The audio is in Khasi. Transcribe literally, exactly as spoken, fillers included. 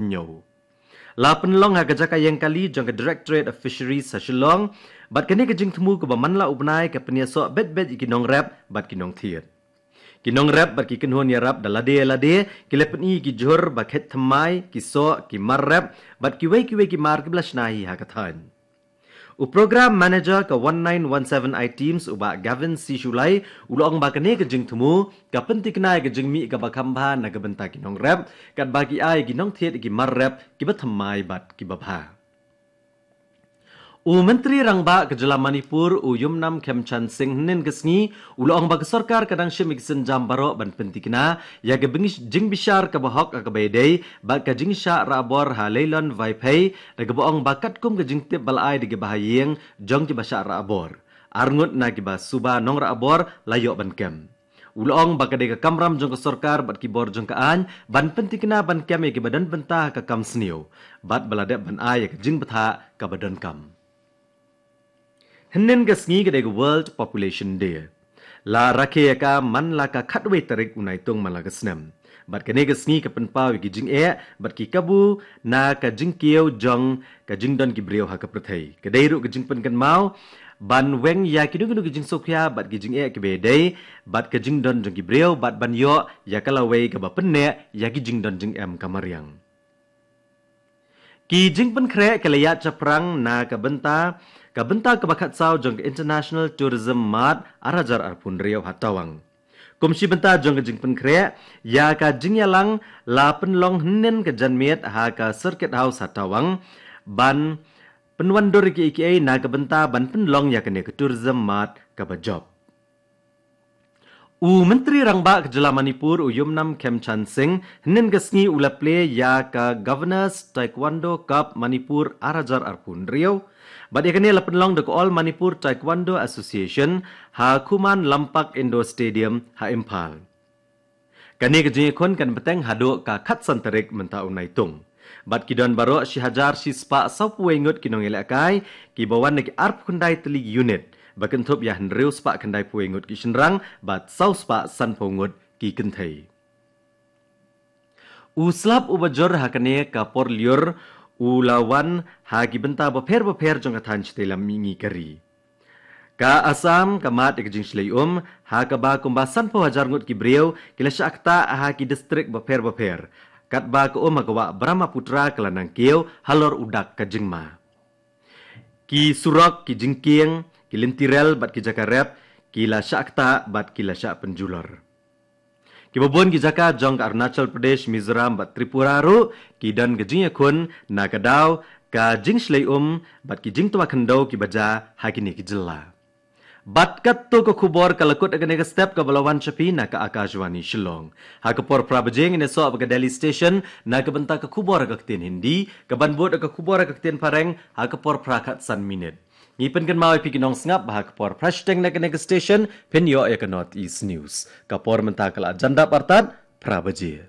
Hynñiew. La pynlong ha ka jaka ïeng kali jong ka Directorate of Fisheries ha Shillong, bad kane ka jingthmu kaba man la u bnai ka pynïasoh beit beit ïa ki nongrep bad ki nongthied. Ki nongrep bad ki kynhun ïarap da lade lade ki la pyni ki jhur ba khet thymmai, ki soh, ki mar rep bad kiwei kiwei ki mar kiba la shna hi ha ka thaiñ. U Program Manager ka one nine one seven I Teams, u Bah Gavin C Shullai, u la ong ba kane ka jingthmu ka pyntikna ïa ka jingmih kaba kham bha na ka bynta ki nongrep, katba ki ai ki nongthied ki mar rep kiba thymmai bad kiba bha. U Myntri Rangbah ka jylla Manipur, u Yumnam Khemchand Singh, hynnin ka sngi u la ong ba ka sorkar ka dang shim ïa ki sienjam baroh ban pyntikna ïa ka bing-, jingbishar kaba hok ha kaba ïadei bad ka jingshah rah bor ha Leilon Vaiphei, da kaba ong ba katkum ka jingtip ba la ai da ki bahaïing jong kiba shah rah bor, arngut na kiba suba nongrah bor la ïoh ban kem. U la ong ba ka dei ka kamram jong ka sorkar bad ki bor jong ka aiñ ban pyntikna ban kem ïa kiba don bynta ha ka kam sniew, bad ba la dep ban ai ïa ka jingbthah kaba donkam. Hynnin ka sngi ka dei ka World Population Day. La rakhe ïa ka man la ka khatwei tarik u Naitung man la ka snem. Bad kane ka sngi ka pynpaw ïa ki jingeh bad ki kabu na ka jingkiew jong ka jingdon ki briew ha ka pyrthei. Ka dei ruh ka jingpynkynmaw ban weng ïa kino kino ki jingsngewkhia bad ki jingeh kiba ïadei bad ka jingdon jong ki briew, bad ban ïoh ïa ka lawei kaba pynneh ïa ki jingdon jingem ka mariang. Ki jingpynkhreh ki la ïaid shaphrang na ka bynta, ka bynta kaba khatsaw jong ka International Tourism Mart ar hajar arphew hynriew ha Tawang. Kum shi bynta jong ka jingpynkhreh ïa ka jingïalang, la pynlong hynnin ka janmiet ha ka Circuit House ha Tawang ban pynwandur ïa kiei kiei na ka bynta ban pynlong ïa kane ka Tourism Mart kaba jop. U Myntri Rangbah ka jylla Manipur, u Yumnam Khemchand Singh, hynnin ka sngi u la plie ïa ka Governor's Taekwondo Cup Manipur ar hajar arphew hynriew, bad ïa kane la pynlong da ka All Manipur Taekwondo Association ha Khuman Lampak Indoor Stadium ha Imphal. Kane ka jingïakhun kan bteng haduh ka khatsan tarik mynta u Naitung. Bad ki don baroh shi hajar shi spah sawphew wei ngut ki nongïalehkai kiba wan na ki arphew khyndai tylli ki unit, ba kynthup ïa hynriew spah khyndai phew wei ngut ki shynrang bad saw spah sanphew ngut ki kynthei. U slap uba jur ha kane ka por lyiur u la wan ha ki bynta bapher bapher jong ka thaiñ shatei lam mihngi ka ri. Ka Assam ka mad ïa ka jingshlei um ha kaba kumba sanphew hajar ngut ki briew ki la shah ktah ha ki distrik bapher bapher, katba ka um ha ka wah Brahmaputra ka la nang kiew halor u dak ka jingma. Ki surok, ki jingkieng, ki lynti rel bad ki jaka rep ki la shah ktah bad ki la shah pynjulor. Kiba bun ki jaka jong ka Arunachal Pradesh, Mizoram bad Tripura ruh ki don ka jingïakhun na ka daw ka jingshlei um bad ki jingtwa khyndew kiba jia ha kine ki jylla. Bad katto ka khubor ka la kut ha kane ka step, kaba la wan sha phi na ka Akashvani Shillong. Ha ka por phra baje ngin ïasoh bad ka Delhi Station na ka bynta ka khubor ha ka ktien Hindi, kaban bud ka khubor ha ka ktien Phareng ha ka por phra khatsan minit. Ngi pynkynmaw ïa phi ki nongsngap ba ha ka por phra shiteng na kane ka station phin ïoh ïa ka North East News. Ka por mynta ka la jan dap artat phra baje.